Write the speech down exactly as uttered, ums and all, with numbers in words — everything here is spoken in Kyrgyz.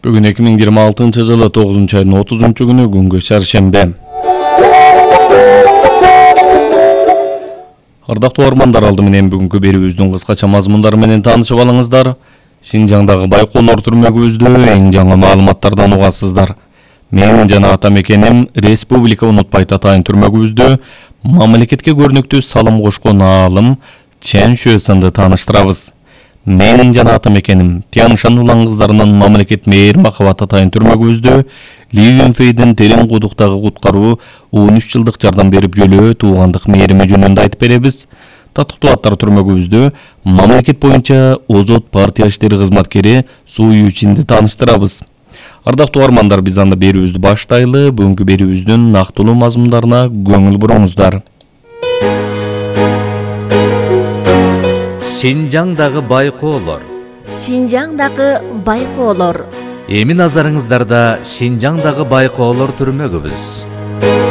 Бүгүн эки миң жыйырма алтынчы жылы тогузунчу айдын отузунчу күнү күнгө шаршембе. Ардактуу угармандар, алды менен бүгүнкү берүүбүздүн кыскача мазмундары менен таанышып алыңыздар. Шинжаңдагы Байкоолор түрмөгүбүздө эң жаңы маалыматтардан угасыздар. Мен жана атамекеним Республика унутпайт атайын түрмөгүбүздө мамлекетке көрүнүктүү салым кошкон аалым Чен Шуэсанды тааныштырабыз. Мен жана атамекеним Тяншан улан кыздарынын мамлекет мээр махабат атайын түрмөгүбүздө Ли Юнфейдин терең кудуктагы куткаруу он үч жылдык жардам берип жөлөө туугандык мээрими жөнүндө айтып беребиз. Татыктуу аттар түрмөгүбүздө мамлекет боюнча Озот партия иштери кызматкери Суу Ючинди тааныштырабыз. Ардактуу угармандар, биз анда берүүбүздү баштайлы. Бүгүнкү берүүбүздүн нактылуу мазмундарына көңүл буруңуздар. Шинжаңдагы Байкоолор. Шинжаңдагы Байкоолор. Эми назарыңыздарда Шинжаңдагы Байкоолор түрмөгүбүз.